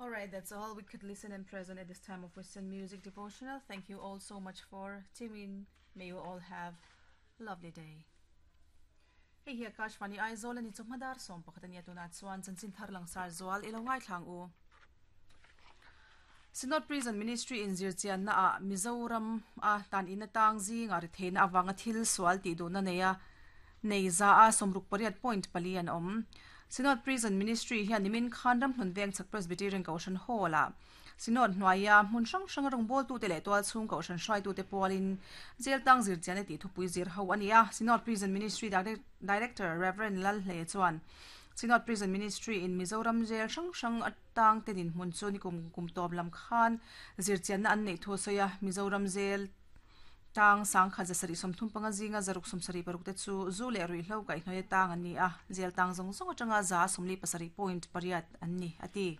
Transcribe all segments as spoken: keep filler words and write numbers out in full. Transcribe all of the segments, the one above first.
All right, that's all we could listen and present at this time of Western Music Devotional. Thank you all so much for tuning in. May you all have a lovely day. Hei hi Akashvani Aizawl ani chawhma dar sawm pakhat ania tunah chuan chanchin thar langsar zual ilo ngaithlang u. Synod Prison Ministry in zirchianna ah Mizoram a tan in atang zinga ri theina awanga thil sual ti du na neia nei za a somruk pariat point pali an awm. Synod Prison Ministry hian nimin khan ram hlun veng chak Presbyterian Kohhran Hall ah Synod hnuaia hmun hrang hrang a rawngbâwl tute leh tual chhung Kohhran hruai te pualin jail tang zirchian ti thupui zir ho ani a. Synod Prison Ministry Director Reverend Lal Hle chuan Synod Prison Ministry in Mizoram jail hrang hrang atang tenin hmun chu ni kum kum tawp lam khan zirchian na an nei thu soya Mizoram jail tang sang kha zasari somthum panga zinga zaruk somsari paruk te chu zu le rui hlo kai hnoi tang ani a jail tang zong zong atanga za somli pasari point pariat an ni ati.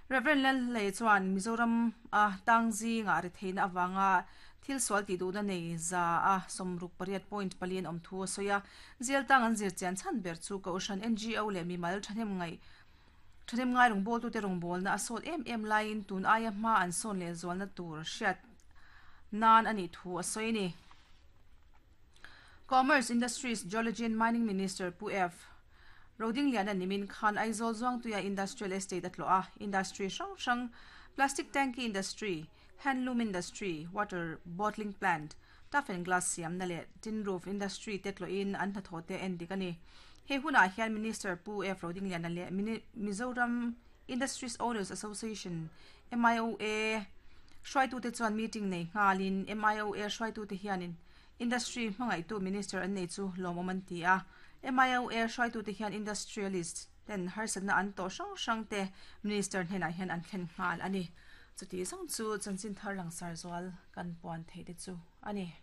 Reverend Lal Le chuan Mizoram a tang zinga ri theina awanga thil sual ti du na nei za a somruk pariat point palian om thu soya jail tang an zir chian chan ber chu ko shan N G O le mi mal thanem ngai thanem ngai rong bol tu te rong bol na asol em em lain tun aya ma an son le zol na tur hriat nan ani thu a soini. Commerce, Industries, Geology and Mining Minister Pu F Roding Lian an nimin khan Aizawl Zuangtuia Industrial Estate atlo a industry hrang hrang, plastic tanky industry, handloom industry, water bottling plant, tough and glass siam na le tin roof industry te tlo in an hnathawh te en dik ani. He hunah hian Minister Pu F Roding Lian le Mizoram Industries Owners Association, M I O A hruaitu te chuan meeting nei nghalin M I O A hruaitu te hianin industry hmangaitu minister an nei chu lawmawm an ti a. M I O A hruaitu te hian industrialist ten harsatna an to hrang hrang te minister hnenah hian an thlen nghal ani. Chuti zawng chu chanchin thar langsar zual kan puan thei te chu ani.